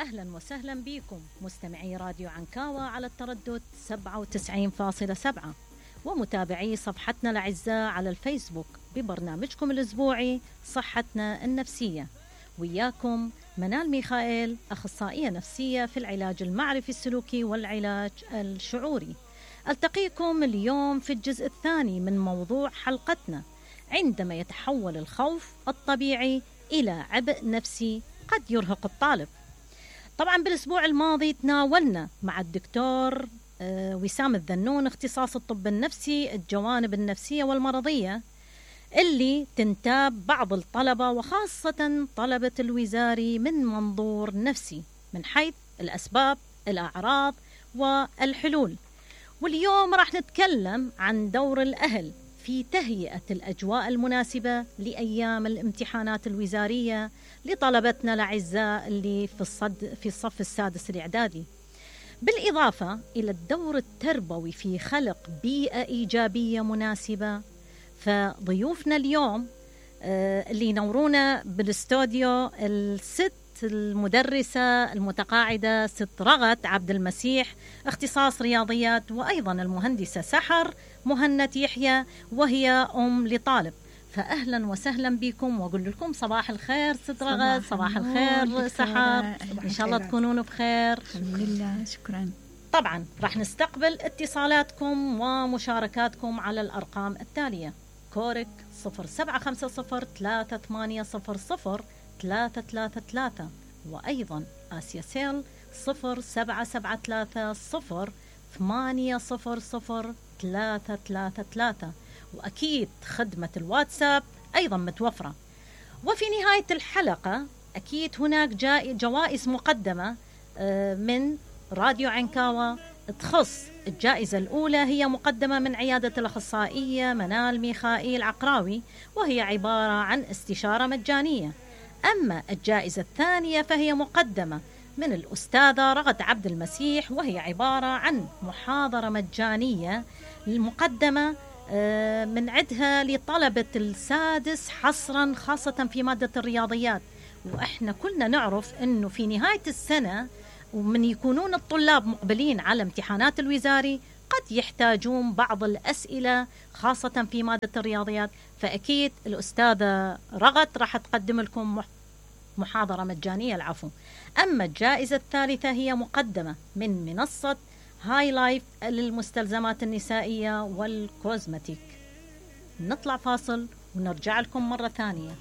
أهلا وسهلا بكم مستمعي راديو عنكاوة على التردد 97.7 ومتابعي صفحتنا الأعزاء على الفيسبوك ببرنامجكم الأسبوعي صحتنا النفسية. وياكم منال ميخائيل، أخصائية نفسية في العلاج المعرفي السلوكي والعلاج الشعوري. ألتقيكم اليوم في الجزء الثاني من موضوع حلقتنا، عندما يتحول الخوف الطبيعي إلى عبء نفسي قد يرهق الطالب. طبعا بالأسبوع الماضي تناولنا مع الدكتور وسام الذنون، اختصاص الطب النفسي، الجوانب النفسية والمرضية اللي تنتاب بعض الطلبة وخاصة طلبة الوزاري من منظور نفسي من حيث الأسباب، الأعراض والحلول. واليوم راح نتكلم عن دور الأهل في تهيئة الأجواء المناسبة لأيام الامتحانات الوزارية لطلبتنا الأعزاء اللي في الصف السادس الإعدادي، بالإضافة إلى الدور التربوي في خلق بيئة إيجابية مناسبة. فضيوفنا اليوم اللي ينورونا بالاستوديو الست المدرسة المتقاعدة ست رغد عبد المسيح، اختصاص رياضيات، وأيضا المهندسة سحر مهند يحيى وهي أم لطالب. فأهلا وسهلا بكم وأقول لكم صباح الخير ست رغد. صباح الخير سحر، إن شاء الله تكونون بخير. الحمد لله، شكرا. طبعا راح نستقبل اتصالاتكم ومشاركاتكم على الأرقام التالية: كورك 075438000333، وأيضا آسيا سيل 077308000333، وأكيد خدمة الواتساب أيضا متوفرة. وفي نهاية الحلقة أكيد هناك جوائز مقدمة من راديو عنكاوة تخص. الجائزة الأولى هي مقدمة من عيادة الأخصائية منال ميخائيل عقراوي، وهي عبارة عن استشارة مجانية. أما الجائزة الثانية فهي مقدمة من الأستاذة رغد عبد المسيح، وهي عبارة عن محاضرة مجانية المقدمة من عدها لطلبة السادس حصرا، خاصة في مادة الرياضيات. وإحنا كلنا نعرف أنه في نهاية السنة ومن يكونون الطلاب مقبلين على امتحانات الوزاري قد يحتاجون بعض الأسئلة خاصة في مادة الرياضيات، فأكيد الأستاذة رغد راح تقدم لكم محاضرة مجانية العفو. أما الجائزة الثالثة هي مقدمة من منصة هاي لايف للمستلزمات النسائية والكوزمتيك. نطلع فاصل ونرجع لكم مرة ثانية.